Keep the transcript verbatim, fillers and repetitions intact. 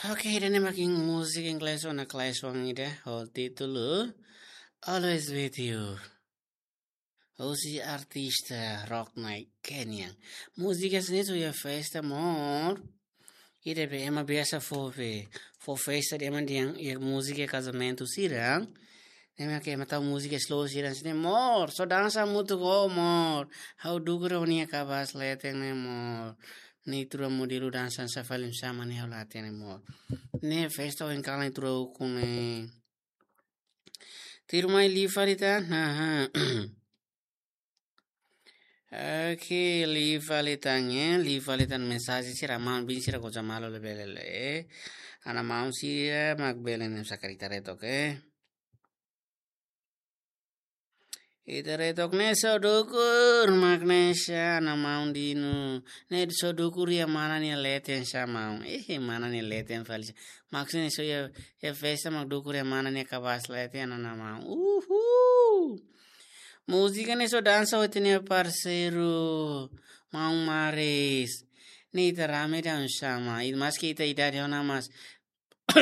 Oke, ida-ne'e mak múzika inglés ona Clash One ida, ho títulu Always With You. Husi artista rock nai Kenyan. Múzika sira-ne'e só iha festa, amor. Ida be ema biasa fó be, fó festa de'it ema dehan iha múzika kazamentu sira. Ne'e mak ema tau múzika slow sira-ne'e, amor. Só dansa hamutuk ho, amor. Ha'u dukur ha'u-nia kabas leten ne'e, amor. Ne'e tuir modelu dansa sá fali oinsá mak ne'e ha'u la hatene, amor. Ne'e festa ohin kalan tuir ukun ne'e. Tuirmai liu fali tan, haha. Oke, liu fali tan, eh, liu fali tan mensajen sira, maun-bin sira goza malu le bele le. Ana maun sira mak bele ne'e sakali ita retok, eh. Ita retok ne'e só dukur mak ne'e sá, ana maun Dino. Ne'e só dukur iha mana nia leten sá, maun. Eh, mana nia leten fali sá. Maksudnya só iha, iha festa mak dukur iha mana nia kabas leten, ana maun. Uhul. Múzika ne'e só dansa ho ita-nia parseiru, maun Maris. Ne'e ita rame dan sama. I maski ita idade ona, mas